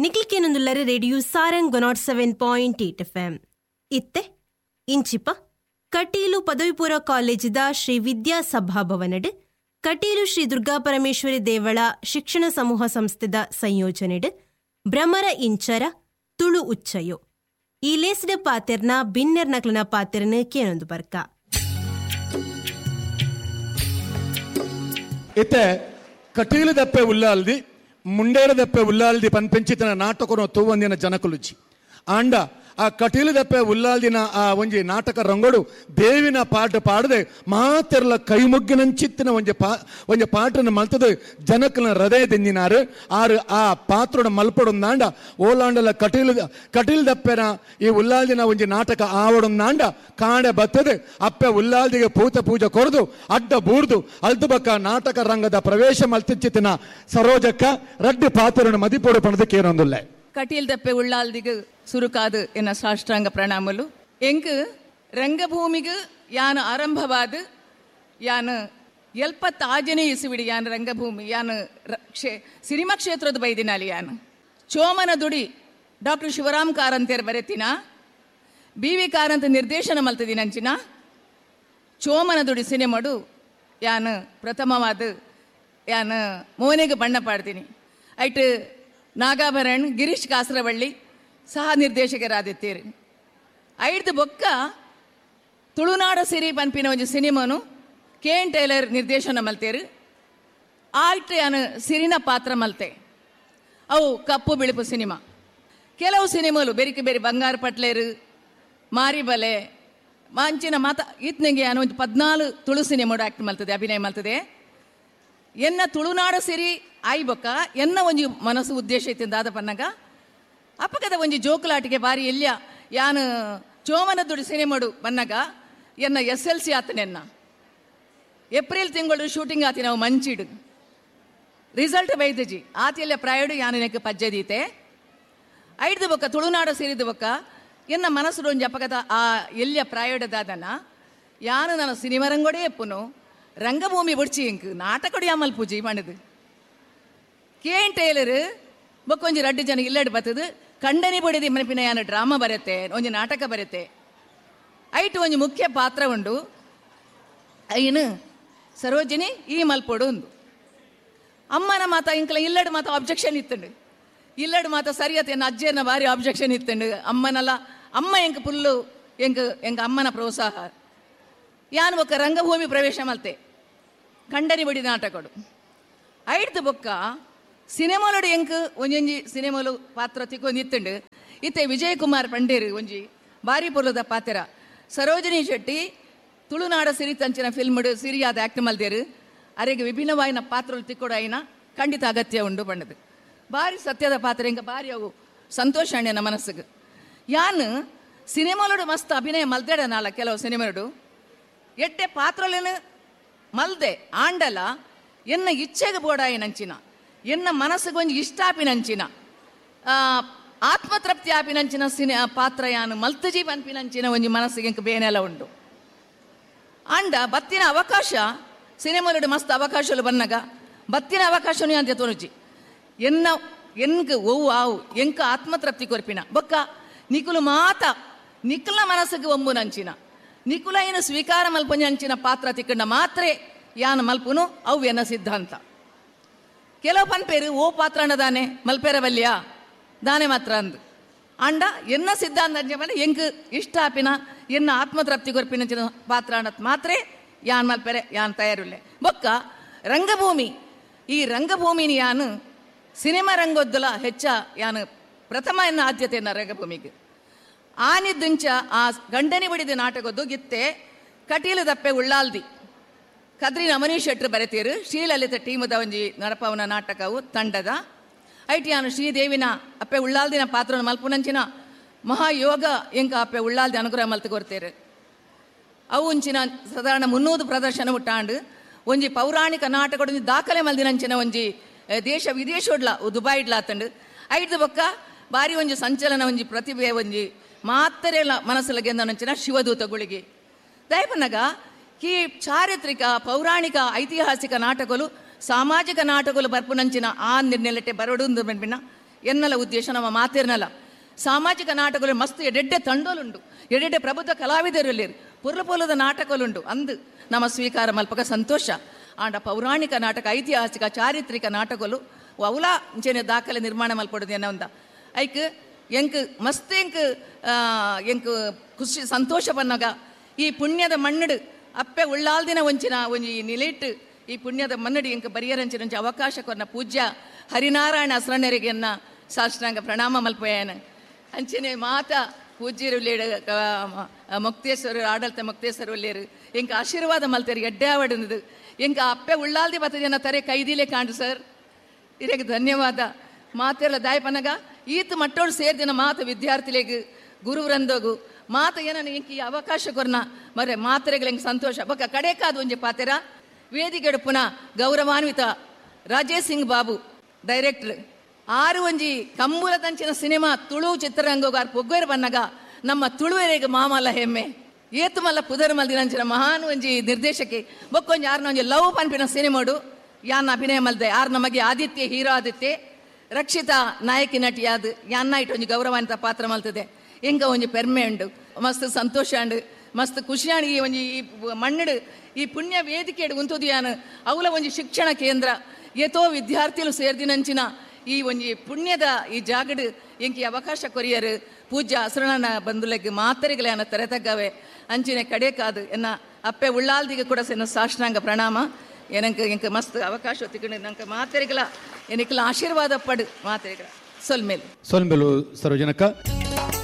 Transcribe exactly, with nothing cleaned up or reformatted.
ನಿಕ್ಲಿಕೇನೊಂದುಲ್ಲರೆ radio Sarang one nought seven point eight F M. ಇತ್ತೆ ಇಂಚಿಪ ಕಟೀಲು ಪದವಿಪೂರ್ವ ಕಾಲೇಜಿದ ಶ್ರೀ ವಿದ್ಯಾ ಸಭಾಭವನಡ್ ಕಟೀಲು ಶ್ರೀ ದುರ್ಗಾ ಪರಮೇಶ್ವರಿ ದೇವಳ ಶಿಕ್ಷಣ ಸಮೂಹ ಸಂಸ್ಥೆದ ಸಂಯೋಜನೆಡ್ ಭ್ರಮರ ಇಂಚರ ತುಳು ಉಚ್ಚಯೋ ಈ ಲೇಸಿದ ಪಾತೆರ್ನ ಬಿನ್ನೆರ್ ನಕ್ಲನ ಪಾತೆರ್ನ ಕೇನೊಂದು ಬರ್ಕ. ಇತ್ತೆ ಕಟೀಲು ದಪ್ಪೆ ಉಲ್ಲಾಲ್ದಿ ಮುಂಡೇರ ದಪ್ಪೆ ಉಲ್ಲಾಲ್ದಿ ಪನ್ಪೆಂಚಿತನ ನಾಟಕನ ತೂವಂದಿನ ಜನಕುಲುಜಿ ಆಂಡ ಆ ಕಟೀಲು ದಪ್ಪೆ ಉಲ್ಲಾಲ್ದಿನ ಆ ಒಂಜಿ ನಾಟಕ ರಂಗೋಡು ದೇವಿನ ಪಾಠ ಪಾಡದೆ ಮಾತೆರ್ಲ ಕೈಮುಗ್ಗಿನಂಚಿತ್ತಿನ ಒಂಜಿ ಪಾ ಒಂಜಿ ಪಾಟನ ಮಲ್ತದ ಜನಕನ ಹೃದಯ ದಿಂಜಿನಾರು ಆರು ಆ ಪಾತ್ರೋಡ ಮಲ್ಪಡೊಂದಾಂಡ ಓಲಾಂಡಲ ಕಟೀಲು ಕಟೀಲು ದಪ್ಪೆನ ಈ ಉಲ್ಲಾಲ್ದಿನ ಒಂಜಿ ನಾಟಕ ಆವಡೊಂದಾಂಡ ಕಾಂಡೆ ಬತ್ತದೆ ಅಪ್ಪೆ ಉಲ್ಲಾಲ್ದಿಗೆ ಪೂತ ಪೂಜೆ ಕೊರದು ಅಡ್ಡ ಬೂರ್ದು ಅಲ್ದು ಬಕ್ಕ ನಾಟಕ ರಂಗದ ಪ್ರವೇಶ ಮಲ್ತಿಚ್ಚಿತ್ತಿನ ಸರೋಜಕ್ಕ ರಡ್ಡು ಪಾತ್ರನ ಮದಿಪೋಡು ಪಣದಕ್ಕೆ ಏನೊಂದುಲ್ಲೆ. ಕಟೀಲ್ ದಪ್ಪೆ ಉಳ್ಳಾಲ್ದಿಗೆ ಸುರುಕಾದು ಎನ್ನ ಸಾಷ್ಟಾಂಗ ಪ್ರಣಾಮಲು. ಎಂಕ್ ರಂಗಭೂಮಿಗೆ ಯಾನ ಆರಂಭವಾದ ಯಾನ ಎಲ್ಪತ್ತಾಜನೇ ಇಸುವಿಡಿ ಯಾನ ರಂಗಭೂಮಿ ಯಾನ ಕ್ಷೇ ಸಿನಿಮಾ ಕ್ಷೇತ್ರದ ಬೈದಿನಾಲಿ ಯಾನ ಚೋಮನ ದುಡಿ ಡಾಕ್ಟರ್ ಶಿವರಾಮ್ ಕಾರಂತೇರ್ ಬರೆತಿನ ಬಿ ವಿ ಕಾರಂತ ನಿರ್ದೇಶನ ಮಲ್ತದಿನಂಚಿನ ಚೋಮನ ದುಡಿ ಸಿನಿಮಾಡು ಯಾನ ಪ್ರಥಮವಾದ ಯಾನ ಮೋನೆಗೆ ಬಣ್ಣ ಪಾಡ್ತೀನಿ. ಐಟ್ ನಾಗಾಭರಣ್ ಗಿರೀಶ್ ಕಾಸರವಳ್ಳಿ ಸಹ ನಿರ್ದೇಶಕರಾದಿತ್ತೀರಿ. ಐದು ಬೊಕ್ಕ ತುಳುನಾಡ ಸಿರಿ ಪನ್ಪಿನ ಒಂಜಿ ಸಿನಿಮಾನು ಕೆ ಎನ್ ಟೈಲರ್ ನಿರ್ದೇಶನ ಮಲ್ತೇರು. ಆಯ್ತು ಯಾನು ಸಿರಿನ ಪಾತ್ರ ಮಲ್ತೆ. ಅವು ಕಪ್ಪು ಬಿಳುಪು ಸಿನಿಮಾ. ಕೆಲವು ಸಿನಿಮಾಲು ಬೆರಿಕೆ ಬೇರೆ ಬಂಗಾರ ಪಟ್ಲೇರು ಮಾರಿಬಲೆ ಮಾಂಚಿನ ಮಾತ ಈತನಿಗೆ ಯಾನು ಒಂದು ಪದ್ನಾಲು ತುಳು ಸಿನಿಮಾಡು ಆ್ಯಕ್ಟ್ ಮಲ್ತದೆ ಅಭಿನಯ ಮಲ್ತದೆ. ಎನ್ನ ತುಳುನಾಡ ಸಿರಿ ಆಯ್ಬೊಕ್ಕ ಎನ್ನ ಒಂಜಿ ಮನಸ್ಸು ಉದ್ದೇಶ ಇತ್ತಿಂದಾದ ಪನ್ನಗ ಅಪ್ಪಕದ ಒಂಜಿ ಜೋಕುಲಾಟಿಗೆ ಬಾರಿ ಎಲ್ಯ ಯಾನು ಚೋಮನ ದುಡಿ ಸಿನಿಮಾಡು ಬನ್ನಗ ಎನ್ನ ಎಸ್ ಎಲ್ ಸಿ ಆತನೆನ್ನ ಏಪ್ರಿಲ್ ತಿಂಗಳು ಶೂಟಿಂಗ್ ಆತಿ ನಾವು ಮಂಚಿಡು ರಿಸಲ್ಟ್ ಬೈದಜಿ ಆತಿಯಲ್ಲ ಪ್ರಾಯಡು ಯಾನು ನೆಕ್ ಪಜ್ಜದೀತೆ. ಐದು ಬೊಕ್ಕ ತುಳುನಾಡ ಸೇರಿದ ಬೊಕ್ಕ ಎನ್ನ ಮನಸ್ಸು ಒಂಜಿ ಅಪ್ಪಕದ ಆ ಎಲ್ಯ ಪ್ರಾಯಡದಾದನ ಯಾನು ನನ್ನ ಸಿನಿಮಾ ರಂಗೋಡೇ ಎಪ್ಪುನು ರಂಗಭೂಮಿ ಬುಡ್ಚಿ ಇಂಕ್ ನಾಟಕಡು ಯಾಮಲ್ ಪೂಜೆ ಮಾಡಿದು. ಕೆ ಎನ್ ಟೈಲರ್ ಬೊಕ್ಕೊಂಜಿ ರಡ್ಡು ಜನ ಇಲ್ಲಡ್ ಬತ್ತದು ಕಂಡನಿ ಬಡಿದಿ ಮನಪಿನ ಯಾನು ಡ್ರಾಮಾ ಬರುತ್ತೆ ಒಂಜಿ ನಾಟಕ ಬರುತ್ತೆ. ಐಟು ಒಂಜಿ ಮುಖ್ಯ ಪಾತ್ರ ಉಂಡು ಐನು ಸರೋಜಿನಿ ಈ ಮಲ್ಪೋಡು ಒಂದು ಅಮ್ಮನ ಮಾತ ಇಂಕಲ ಇಲ್ಲಡ್ ಮಾತ ಆಬ್ಜೆಕ್ಷನ್ ಇತ್ತಂಡು ಇಲ್ಲಡ್ ಮಾತ ಸರಿಯತ್ತೆ ಎನ್ನ ಅಜ್ಜಿಯನ್ನ ಭಾರಿ ಆಬ್ಜೆಕ್ಷನ್ ಇತ್ತಂಡು ಅಮ್ಮನಲ್ಲ ಅಮ್ಮ ಎಂಕ್ ಪುಲ್ಲು ಎಂಕ್ ಎಂಕ್ ಅಮ್ಮನ ಪ್ರೋತ್ಸಾಹ. ಯಾನು ಬೊಕ್ಕ ರಂಗಭೂಮಿ ಪ್ರವೇಶ ಮಲ್ತೆ ಕಂಡನಿ ಬಡಿ ನಾಟಕಡು. ಐಡ್ದು ಬೊಕ್ಕ ಸಿನಿಮಾಲೋಡು ಎಂಕ್ ಒಂಜೊಂಜಿ ಸಿನಿಮಾಲು ಪಾತ್ರ ತಿಕ್ಕೊಂದು ಇತ್ತಂಡು. ಇತ್ತೆ ವಿಜಯ್ ಕುಮಾರ್ ಪಂಡೇರು ಒಂಜಿ ಬಾರಿ ಪೊರ್ಲದ ಪಾತ್ರ ಸರೋಜಿನಿ ಶೆಟ್ಟಿ ತುಳುನಾಡ ಸಿರಿ ತಂಚಿನ ಫಿಲ್ಮ್ಡು ಸಿರಿಯಾದ ಆ್ಯಕ್ಟ್ ಮಲ್ದೇರು ಅರೆಗೆ ವಿಭಿನ್ನವಾಯಿನ ಪಾತ್ರలు ತಿಕ್ಕೊಡು అయిన ಖಂಡಿತ ಅಗತ್ಯ ಉಂಡು ಬಣ್ಣದು ಬಾರಿ ಸತ್ಯದ ಪಾತ್ರ ಎಂಕ ಬಾರಿ ಅವು ಸಂತೋಷ ಅಣ್ಣ ಮನಸ್ಸಿಗೆ. ಯಾನು ಸಿನಿಮಾಲೋಡು ಮಸ್ತ್ ಅಭಿನಯ ಮಲ್ದೇಡ ನಾಲ ಕೆಲವು ಸಿನಿಮಾಲೋಡು ಎಡ್ಡೆ ಪಾತ್ರలను ಮಲ್ದೆ ಆಂಡಲ ಎನ್ನ ಇಚ್ಛೆಗೆ ಬೋಡಾಯಿನಂಚಿನ ಎನ್ನ ಮನಸ್ಸಿಗೆ ಒಂಜಿ ಇಷ್ಟ ಆಪಿನಂಚಿನ ಆತ್ಮತೃಪ್ತಿ ಆಪಿನಂಚಿನ ಸಿನಿ ಪಾತ್ರ ಯಾನು ಮಲ್ತಜಿ ಪನ್ಪಿನಂಚಿನ ಒಂಜಿ ಮನಸ್ಸಿಗೆ ಎಂಕ್ ಬೇನೆಲ್ಲ ಉಂಡು. ಆಂಡ ಬತ್ತಿನ ಅವಕಾಶ ಸಿನಿಮಾಲೋಡು ಮಸ್ತ್ ಅವಕಾಶలు ಬನ್ನಗ ಬತ್ತಿನ ಅವಕಾಶನು ಅಂತ ತೋರುಜಿ ಎನ್ನ ಎನ್ಕ್ ಒವು ಆವು ಎಂಕ ಆತ್ಮತೃಪ್ತಿ ಕೊರ್ಪಿನ ಬೊಕ್ಕ ನಿಕುಲು ಮಾತ ನಿಕುಲ ಮನಸ್ಸಿಗೆ ಒಂಬುನಂಚಿನ ನಿಕುಲೈನ ಸ್ವೀಕಾರ ಮಲ್ಪುಂಚಿನ ಪಾತ್ರ ತಿಕ್ಕಂಡ ಮಾತ್ರೆ ಯಾನು ಮಲ್ಪುನು ಅವು ಎನ್ನ ಸಿದ್ಧಾಂತ. ಕೆಲವು ಪನ್ಪೇರು ಓ ಪಾತ್ರ ದಾನೆ ಮಲ್ಪೇರವಲ್ಯ ದಾನೆ ಮಾತ್ರ ಅಂದು ಅಂಡ ಎನ್ನ ಸಿದ್ಧಾಂತ ಅಂಚೆ ಎಂಕ್ ಇಷ್ಟ ಆಪಿನ ಎನ್ನ ಆತ್ಮತೃಪ್ತಿ ಕೊರ್ಪಿನಂಚಿನ ಪಾತ್ರ ಅನ್ನತ್ ಮಾತ್ರೆ ಯಾನ್ ಮಲ್ಪೆರೆ ಯಾನ್ ತಯಾರಿಲ್ಲೆ. ಬೊಕ್ಕ ರಂಗಭೂಮಿ ಈ ರಂಗಭೂಮಿನಿ ಯಾನು ಸಿನಿಮಾ ರಂಗೋದ್ದಲ ಹೆಚ್ಚ ಯಾನು ಪ್ರಥಮ ಎನ್ನ ಆದ್ಯತೆಯನ್ನ ರಂಗಭೂಮಿಗೆ ಆನಿದ್ದುಂಚ ಆ ಗಂಡನಿ ಬಡಿದ ನಾಟಕದ್ದು ಗಿತ್ತೆ ಕಟೀಲು ದಪ್ಪೆ ಉಳ್ಳಾಲ್ದಿ ಕದ್ರಿನ ಅಮನೀಶ್ ಶೆಟ್ರು ಬರೆತೀರು ಶ್ರೀಲಲಿತ ಟೀಮದ ಒಂಜಿ ನಡಪವನ ನಾಟಕವು ತಂಡದ ಐಟಿಯಾನು ಶ್ರೀದೇವಿನ ಅಪ್ಪೆ ಉಳ್ಳಾಲ್ದಿನ ಪಾತ್ರನ ಮಲ್ಪುನಂಚಿನ ಮಹಾಯೋಗ ಎಂಕ ಅಪ್ಪೆ ಉಳ್ಳಾಲ್ದಿ ಅನುಗ್ರಹ ಮಲ್ತು ಕೊರ್ತೀರು. ಅವು ಒಂಚಿನ ಸಾಧಾರಣ ಮುನ್ನೂರು ಪ್ರದರ್ಶನ ಉಟ್ಟಾಂಡು ಒಂಜಿ ಪೌರಾಣಿಕ ನಾಟಕ ದಾಖಲೆ ಮಲ್ದಿನಂಚಿನ ಒಂಜಿ ದೇಶ ವಿದೇಶೋಡ್ಲ ದುಬಾಯಿಡ್ಲ ಆತಂಡು. ಐದು ಬೊಕ್ಕ ಬಾರಿ ಒಂಜಿ ಸಂಚಲನ ಒಂಜಿ ಪ್ರತಿಭೆ ಒಂಜಿ ಮಾತ್ರೆಲ್ಲ ಮನಸ್ಸಲ್ಲಿ ಗೆಂದನಂಚಿನ ಶಿವದೂತ ಗುಳಿಗೆ ದಯಪನಗ ಈ ಚಾರಿತ್ರಿಕ ಪೌರಾಣಿಕ ಐತಿಹಾಸಿಕ ನಾಟಕಗಳು ಸಾಮಾಜಿಕ ನಾಟಕಗಳು ಬರ್ಪುನಂಚಿನ ಆ ನಿರ್ನೆಲೆಟೆ ಬರಡು ಪಿನ್ನ ಎನ್ನಲ ಉದ್ದೇಶ ನಮ್ಮ ಮಾತಿರ್ನಲ್ಲ. ಸಾಮಾಜಿಕ ನಾಟಕಗಳು ಮಸ್ತ್ ಎಡೆಡ್ಡೆ ತಂಡೋಲುಂಡು, ಎಡೆಡ್ಡೆ ಪ್ರಬುದ್ಧ ಕಲಾವಿದರುಲ್ಲೇರು, ಪೊರ್ಲು ಪೊರ್ಲದ ನಾಟಕಲುಂಡು ಅಂದು ನಮ್ಮ ಸ್ವೀಕಾರ ಮಲ್ಪಕ ಸಂತೋಷ. ಆಂಡ ಪೌರಾಣಿಕ ನಾಟಕ, ಐತಿಹಾಸಿಕ ಚಾರಿತ್ರಿಕ ನಾಟಕಲು ಅವಲ ಇಂಚೆನೆ ದಾಖಲೆ ನಿರ್ಮಾಣ ಮಲ್ಪಡುದು ಎನ್ನ ಒಂದ ಐಕ್ ಎಂಕ್ ಮಸ್ತ್ ಎಂಕ್ ಎಂಕ್ ಖುಷಿ ಸಂತೋಷ ಬನ್ನಾಗ ಈ ಪುಣ್ಯದ ಮಣ್ಣಡು ಅಪ್ಪೆ ಉಳ್ಳಾಲ್ದಿನ ಒಂಚಿನ ಒಂಜಿ ನಿಲೆಟ್ಟು ಈ ಪುಣ್ಯದ ಮನ್ನಡಿ ಎಂಕ್ ಬರಿಯರಂಚಿನ ಒಂಜಿ ಅವಕಾಶ ಕೊರ್ನ ಪೂಜ್ಯ ಹರಿನಾರಾಯಣ ಅಸ್ರಣ್ಣರಿಗೆ ಎನ್ನ ಸಾಷ್ಟಾಂಗ ಪ್ರಣಾಮ ಮಲ್ಪಯಾನ. ಅಂಚನೆ ಮಾತ ಪೂಜ್ಯರು ಲೇಡು ಮೊಕ್ತೇಶ್ವರರು ಆಡಳಿತ ಮೊಕ್ತೇಶ್ವರ ಲೇರು ಎಂಕ್ ಆಶೀರ್ವಾದ ಮಲ್ತೇರು ಎಡ್ಡೆ ಆವಡನದು ಎಂಕ ಅಪ್ಪೆ ಉಳ್ಳಾಲ್ದಿ ಬತ್ತ ಜನ ತರೆ ಕೈದಿಲೆ ಕಾಂಡು ಸರ್ ಇರೆಗೆ ಧನ್ಯವಾದ. ಮಾತೆಲ್ಲ ದಾಯಪನಗ ಈತ ಮಟ್ಟೋಡು ಸೇರ್ದಿನ ಮಾತು ವಿದ್ಯಾರ್ಥಿಲೆಗ್ ಗುರುವೃಂದಗು ಮಾತ ಏನನ ಎಂಕ್ ಈ ಅವಕಾಶ ಕೊರ್ನ ಮರೆ ಮಾತ್ರೆಗಳು ಎಂಕ್ ಸಂತೋಷ. ಬೊಕ್ಕ ಕಡೆಕಾದ ಒಂಜಿ ಪಾತೆರ ವೇದಿಕೆಡು ಪುನಃ ಗೌರವಾನ್ವಿತ ರಾಜೇಶ್ ಸಿಂಗ್ ಬಾಬು ಡೈರೆಕ್ಟರ್ ಆರು ಒಂಜಿ ಕಂಬುಲದಂಚಿನ ಸಿನಿಮಾ ತುಳು ಚಿತ್ರರಂಗೋಗಾರ್ ಪೊಗ್ಗೇರು ಬನ್ನಗ ನಮ್ಮ ತುಳುವೆರೆಗೆ ಮಾಮಲ್ಲ ಹೆಮ್ಮೆ ಏತು ಮಲ್ಲ ಪುದರ್ ಮಲ್ದಿನಂಚಿನ ಮಹಾನ್ ಒಂಜಿ ನಿರ್ದೇಶಕಿ ಬೊಕ್ಕೊಂಜಿ ಆರ್ನ ಒಂಜಿ ಲವ್ ಪನ್ಪಿನ ಸಿನಿಮಾಡು ಯಾನ್ ಅಭಿನಯ ಮಲ್ದೆ ಆರ್ ನಮಗೆ ಆದಿತ್ಯ ಹೀರೋ ಆದಿತ್ಯ ರಕ್ಷಿತಾ ನಾಯಕಿ ನಟಿಯಾದ ಯಾನ್ನ ಇಟ್ಟು ಒಂಜಿ ಗೌರವಾನ್ವಿತ ಪಾತ್ರ ಮಲ್ತದೆ. ಎಂಕ ಒಂಜಿ ಪೆರ್ಮೆ ಉಂಡು, ಮಸ್ತ್ ಸಂತೋಷ ಉಂಡು, ಮಸ್ತ್ ಖುಷಿಯಾಣ ಈ ಒಂಜಿ ಈ ಮಣ್ಣಡು ಈ ಪುಣ್ಯ ವೇದಿಕೆಡು ಉಂತುದು ಯಾನ್ ಅವಲ ಒಂಜಿ ಶಿಕ್ಷಣ ಕೇಂದ್ರ ಏತೋ ವಿದ್ಯಾರ್ಥಿಗಳು ಸೇರ್ದಿನಂಚಿನ ಈ ಒಂಜಿ ಪುಣ್ಯದ ಈ ಜಾಗಡು ಎಂಕಿ ಅವಕಾಶ ಕೊರಿಯರು ಪೂಜ್ಯ ಅಸರಣನ ಬಂಧುಲೆಗ್ ಮಾತರೆಗಳ ತೆರೆತಗ್ಗವೆ ಅಂಚಿನ ಕಡೆಕಾದು ಎನ್ನ ಅಪ್ಪೆ ಉಳ್ಳಾಲ್ದಿಗೆ ಕೂಡ ಎನ್ನ ಸಾಷ್ಟಾಂಗ ಪ್ರಣಾಮ. ಏನಂಕ ಎಂಕ ಮಸ್ತ್ ಅವಕಾಶ ತಿಕ್ಕಂಡು ನಂಗೆ ಮಾತೆರೆಗಳ ಏನಕ್ಕೆಲ್ಲ ಆಶೀರ್ವಾದ ಪಡು ಮಾತೆರೆಗಳ ಸೊಲ್ಮೇಲು ಸೊಲ್ಮೇಲು ಸರೋಜನಕ್ಕ.